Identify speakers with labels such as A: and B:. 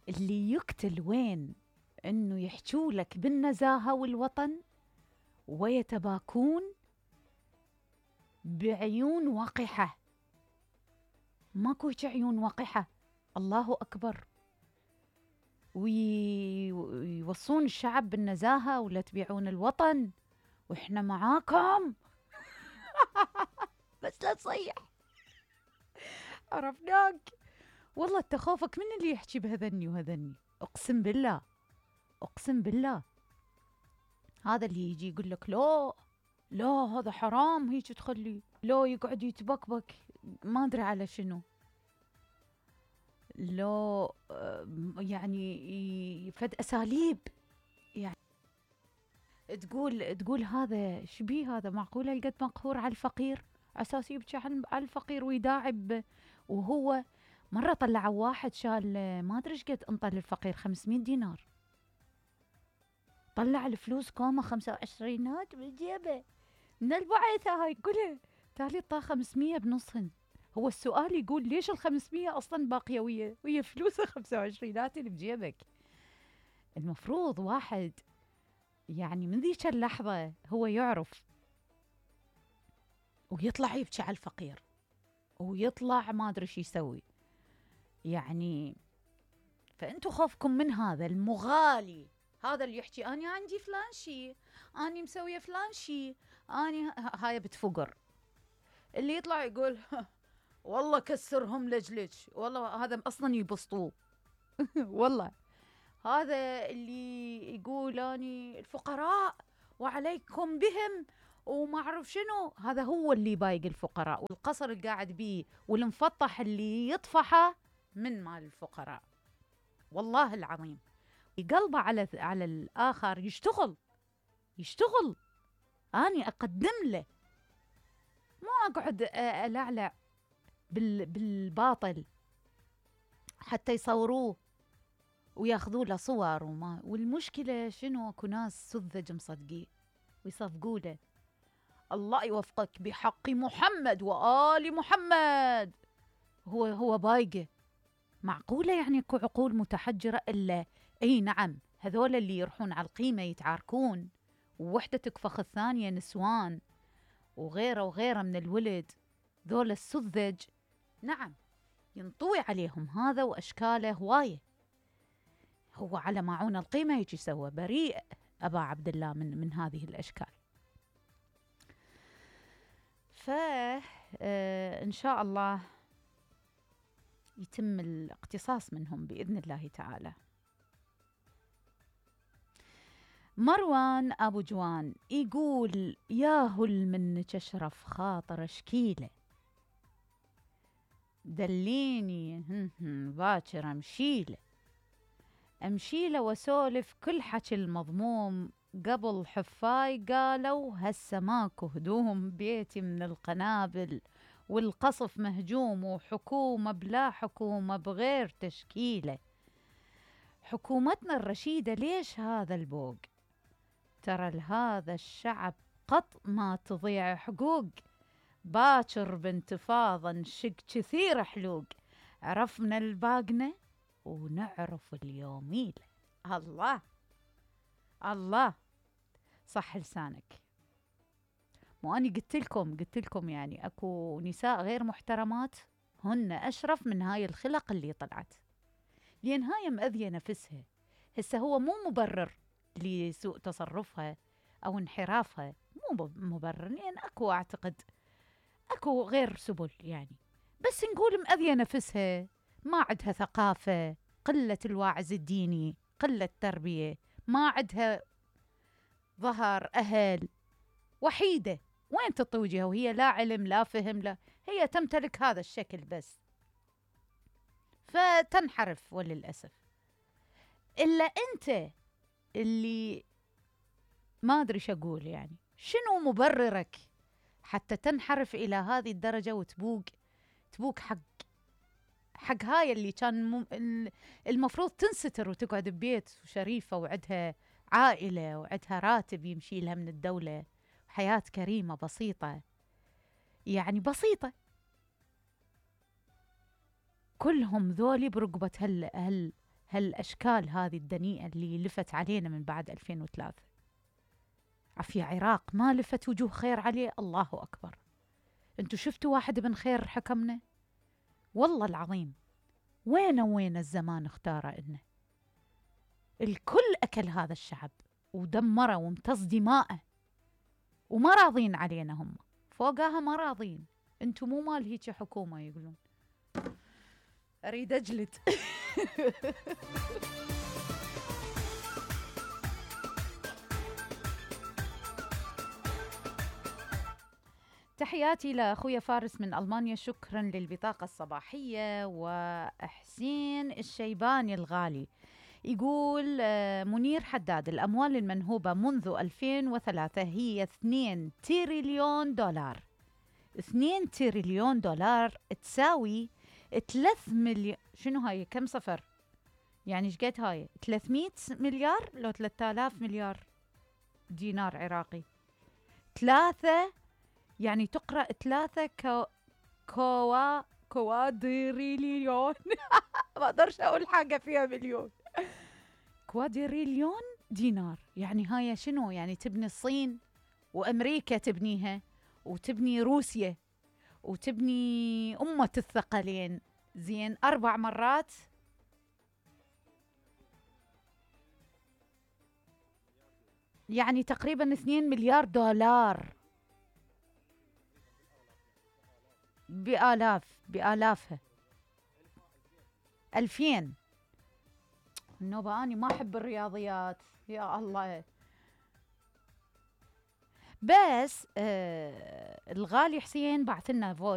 A: اللي يقتل وين انه يحجوا لك بالنزاهة والوطن ويتباكون بعيون وقحة. ماكو عيون وقحة، الله أكبر. ويوصون الشعب بالنزاهة ولا تبيعون الوطن وإحنا معاكم. بس لا تصيح، عرفناك. والله تخافك من اللي يحكي بهذني وهذني. أقسم بالله، أقسم بالله، هذا اللي يجي يقول لك لا لا هذا حرام هيك تخلي، لا يقعد يتبكبك ما أدري على شنو، لا يعني فد أساليب. يعني تقول هذا شبيه، هذا معقولة القد مقهور على الفقير أساس يبكي على الفقير ويداعب. وهو مرة طلعوا واحد شال ما أدري قد انطى للفقير 500 دينار، طلع الفلوس كومة 25 بالجيبه من البعثة هاي كلها، تالي طا 500 بنصهن. هو السؤال يقول ليش ال500 أصلا باقية ويا فلوسه 25 اللي بجيبك؟ المفروض واحد يعني من ذيك اللحظة هو يعرف ويطلع يبكي على الفقير ويطلع ما أدري شو يسوي يعني. فأنتوا خوفكم من هذا المغالي، هذا اللي يحكي أنا عندي فلان شي، أنا مسوية فلان شي، أنا هاي بتفقر. اللي يطلع يقول والله كسرهم لجلج، والله هذا أصلا يبسطوه. والله هذا اللي يقول أني الفقراء وعليكم بهم وما أعرف شنو، هذا هو اللي بايق الفقراء، والقصر اللي قاعد بيه والمفطح اللي يطفحه من مال الفقراء. والله العظيم قلبه على الآخر يشتغل أني أقدم له، مو أقعد ألعلع بالباطل حتى يصوروه وياخذوا له صور والمشكلة شنو؟ اكو ناس سذج مصدقيه ويصفقوا له. الله يوفقك بحق محمد وآل محمد. هو بايقه. معقولة يعني اكو عقول متحجرة؟ إلا اي نعم، هذول اللي يروحون على القيمة يتعاركون ووحدة تكفخ الثانية، نسوان وغيره من الولد، ذول السذج نعم ينطوي عليهم هذا وأشكاله هواية. هو على ماعون القيمة يجي سوى بريء أبا عبد الله من هذه الأشكال. فإن شاء الله يتم الاقتصاص منهم بإذن الله تعالى. مروان أبو جوان يقول ياهل منك أشرف خاطر شكيلة، دليني باكر أمشيله وسولف كل حكي المضموم، قبل حفاي قالوا هسه ماكو هدوم، بيتي من القنابل والقصف مهجوم، وحكومة بلا حكومة بغير تشكيله. حكومتنا الرشيدة ليش هذا البوق؟ ترى لهذا الشعب قط ما تضيع حقوق، باكر بانتفاضة نشق كثير حلوق، عرفنا الباقنة ونعرف اليوميلة. الله الله صح لسانك. مو أني قلت لكم يعني أكو نساء غير محترمات هن أشرف من هاي الخلق اللي طلعت، لأن هاي مأذية نفسها. هسه هو مو مبرر لسوء تصرفها أو انحرافها، مو مبرر، لأن أكو أعتقد أكو غير سبل يعني، بس نقول مأذية نفسها، ما عندها ثقافة، قلة الواعز الديني، قلة تربية، ما عندها ظهر أهل، وحيدة، وين تطي وجهها وهي لا علم لا فهم لا، هي تمتلك هذا الشكل بس، فتنحرف وللأسف. إلا أنت اللي ما أدري شو أقول، يعني شنو مبررك حتى تنحرف إلى هذه الدرجة وتبوق حق هاي اللي كان المفروض تنستر وتقعد ببيت شريفة وعدها عائلة وعدها راتب يمشي لها من الدولة، حياة كريمة بسيطة، يعني بسيطة. كلهم ذولي برقبة هالأشكال هذه الدنيئة اللي لفت علينا من بعد 2003. عفية عراق ما لفت وجوه خير عليه، الله أكبر. انتو شفتوا واحد ابن خير حكمنا؟ والله العظيم وين الزمان اختاره إنه الكل أكل هذا الشعب ودمره وامتص دماءه، وما راضين علينا هم، فوقها ما راضين. انتو مو مال هيك حكومة يقولون. أريد أجلد. تحياتي لأخويا فارس من ألمانيا، شكرا للبطاقة الصباحية. وحسين الشيباني الغالي يقول منير حداد، الأموال المنهوبة منذ 2003 هي 2 تريليون دولار. 2 تريليون دولار تساوي 3 مليون. شنو هاي؟ كم صفر؟ يعني ايش قد هاي؟ 300 مليار لو 3000 مليار دينار عراقي. 3 يعني تقرأ 3 كوادريليون. ما اقدرش اقول حاجة فيها مليون. كوادريليون دينار. يعني هاي شنو؟ يعني تبني الصين وأمريكا تبنيها، وتبني روسيا، وتبني أمة الثقلين. زين 4 مرات. يعني تقريبا 2 مليار دولار. بآلافها. 2000. النوبة أني ما أحب الرياضيات يا الله. بس الغالي حسين بعث لنا فويس